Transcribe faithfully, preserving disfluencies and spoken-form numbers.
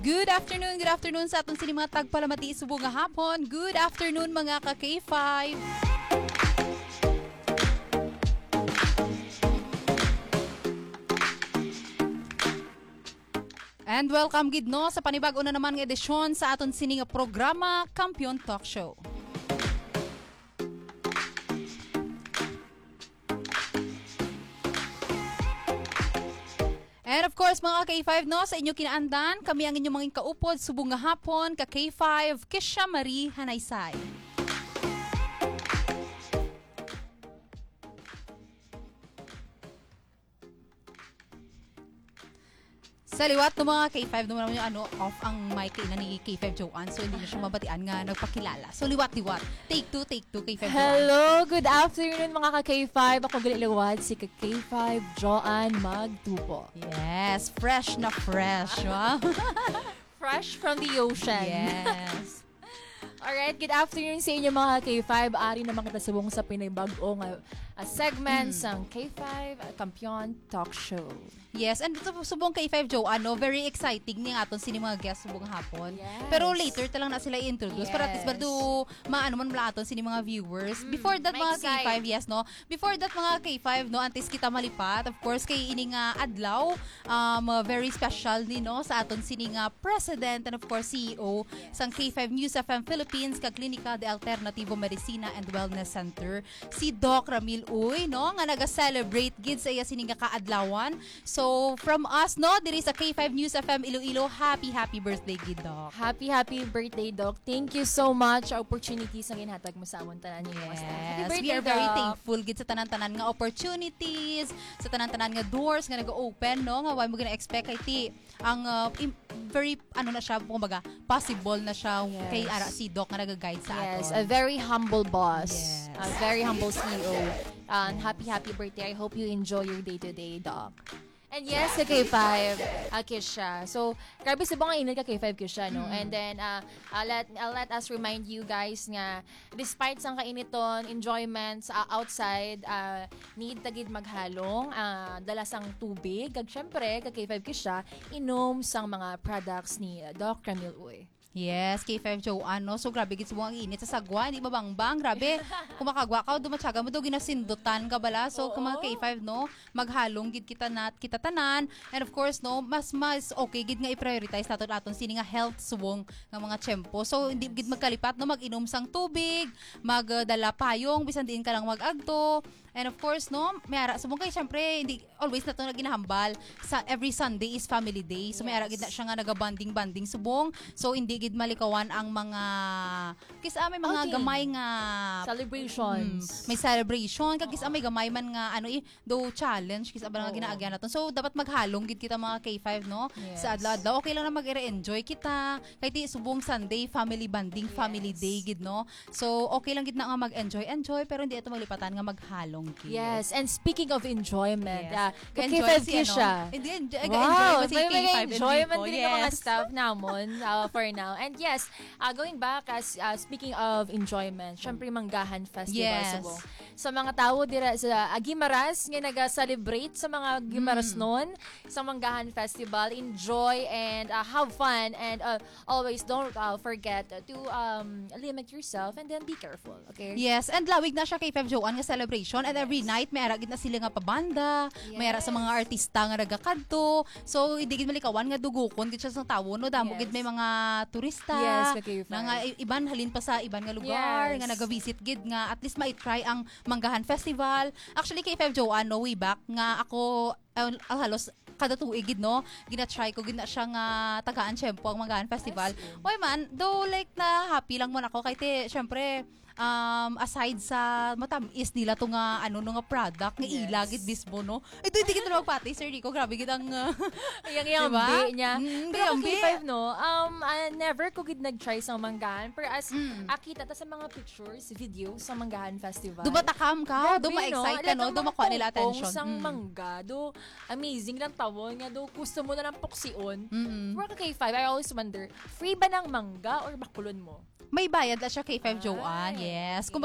Good afternoon, good afternoon sa aton sini mga tagpalamati subong nga hapon. Good afternoon, mga ka K five. And welcome gid, no, sa panibag-o na naman nga edisyon sa aton sini nga programa, Kampiyon Talk Show. And of course, mga K five, no, sa inyo kinaandan, kami ang inyong mga kaupod subong nga hapon, ka K five, Kisha Marie Hanaysay. Sa liwat ng mga K five, naman yung ano, off ang mic kaina ni K five Joanne, so hindi na siya mabatian nga nagpakilala. So liwat-liwat. Take two, take two, K five Joanne. Hello, good afternoon, mga ka K five. Ako gali liwat, si ka K five Joanne Magtupo. Yes, fresh na fresh, wow. Fresh from the ocean. Yes. Alright, good afternoon sa inyo, mga K five. Ari naman kita subong sa pinibag-o nga, ah, segment Mm. sang K five, ah, Kampiyon Talk Show. Yes, and ito, subong K five Joanne, no, very exciting ni aton sini mga guest subong hapon. Yes. Pero later ta lang na sila i-introduce para at least Yes. bardo maano man mula aton sini mga viewers. Mm, Before that, mga maexcite. K five, yes, no? Before that, mga K five, no, antes kita malipat, of course, kay ini nga adlaw, um, uh, very special ni, no, sa aton sini nga President and, of course, C E O Yes. sang K five News F M Philippines, kag Klinika de Alternativo Medicina and Wellness Center, si Doc Ramil Uy, no, nga naga-celebrate gid sa iya sini nga kaadlawan. So, from us, no, diri sa K five News F M Iloilo, happy, happy birthday gid, Doc. Happy, happy birthday, Doc. Thank you so much sa opportunity sa ginhatag mo sa amon tanan ninyo nga staff. Happy Yes, we birthday, are very Doc. thankful gid sa tanan-tanan nga opportunities, sa tanan-tanan nga doors nga nag-open, no? Nga wala mo gina-expect kay ti ang, uh, im-, very, ano na siya, kumbaga, possible na siya Yes. kay ara si Doc nga naga-guide sa Yes, aton. a very humble boss. Yes. A very humble C E O. And happy, happy birthday. I hope you enjoy your day today, Doc. And yes, ka K five, ah, Kisha. So, grabe subong ang init, ka K five, Kisha, no? Mm. And then, ah, ah, let, ah, let us remind you guys nga despite sang kainiton, enjoyment sa outside, ah, need ta gid maghalong, ah, dala sang tubig, kag syempre, ka K five, Kisha, inom sang mga products ni Doc Ramil Uy. Yes, K five Joanne, no? So, grabe gid subong ang init sa sagwa, hindi mabangbang. Grabe, kumakagwa ka, dumatsaga mo, do ginasindutan ka bala. So, kung mga Oo. K five, no, maghalong gid kita nat-, kita tanan. And of course, no, mas, mas okay gid nga i-prioritize naton aton sini nga health subong nga mga tiyempo. So, hindi Yes. gid magkalipat, no, mag-inom sang tubig, mag, uh, dala payong, bisan diin ka lang mag-agto. And of course, no, may ara subong kay, syempre, hindi, always nato na ginahambal sa every Sunday is family day. So, may ara gid na Yes. siya nga naga-bonding-bonding subong. So, hindi gid malikawan ang mga, kis-a may mga Outing. gamay nga Celebrations. Mm, may celebration. Kag kis-a may Oo. gamay man nga, ano, eh, do challenge, kis-a ba nga Oo. ginaagyan naton. So, dapat maghalong gid kita, mga K five, no? Yes. Sa adlaw-adlaw. Okay lang na mag-enjoy kita. Kay ti subong Sunday, family bonding, family Yes. day gid, no? So, okay lang gid na nga mag-enjoy-enjoy, pero hindi ito maglipatan nga maghalong gid. Yes, and speaking of enjoyment, Yes. ah, ka Enjoy K five si, ano, Kisha. Hindi, enjoy, Wow, enjoy si may, may K five enjoyment Enrico. din ang mga Yes. staff namon, ah, for now. And yes, ah, going back, as, ah, speaking of enjoyment, syempre, Manggahan Festival Yes. Subong. Sa mga tawo dira sa, ah, Guimaras nga naga-celebrate sa mga Guimaras Mm. noon, sa Manggahan Festival, enjoy and, ah, have fun and, ah, always don't, uh, forget to, um, limit yourself and then be careful, okay? Yes, and lawig na siya kay Feb Joanne nga celebration, and every Yes. night may ara gid na sila nga pabanda, may ara sa mga Yes. artista nga nagakadto. So, hindi gid malikawan nga dugukon gid siya sa tawo, no? Damo gid Yes. may mga turista Yes, ka K five. na nga i-, iban halin pa sa iban nga lugar Yes. nga nagavisit gid nga at least ma-try ang Manggahan Festival. Actually, kay Feb Joanne, no, way back nga ako, ah, ah, halos kada tuig gid, no, gina-try ko gid na siya nga tagaan tiyempo ang Manggahan Festival. As in. Oy man, though, like, na happy lang man ako kay ti, syempre, um, aside sa matamis nila to nga, ano, no, nga product nga Yes. ila gid mismo, no. Ito, hindi kita magpati, Sir Rico. Grabe gid ang, uh, Yang, yang di ba? ambi niya. Mm, Pero kay yambi. K five, no, um, ah, never ko gid nag-try sa Manggahan. Pero as Mm. akita ta sa mga pictures, video sa Manggahan Festival. Dumatakam ka, Grabe, duma-excite no? ka, no? Like, ang mga Dumakuha nila pongpong attention. sang Mm. mangga, do amazing lang tawon nga, do gusto mo na lang puksion. Mm-mm. Pero ka K five, I always wonder, free ba ng mangga or bakulon mo? May bayad la siya, K five Joanne. Ay. Yes. Kung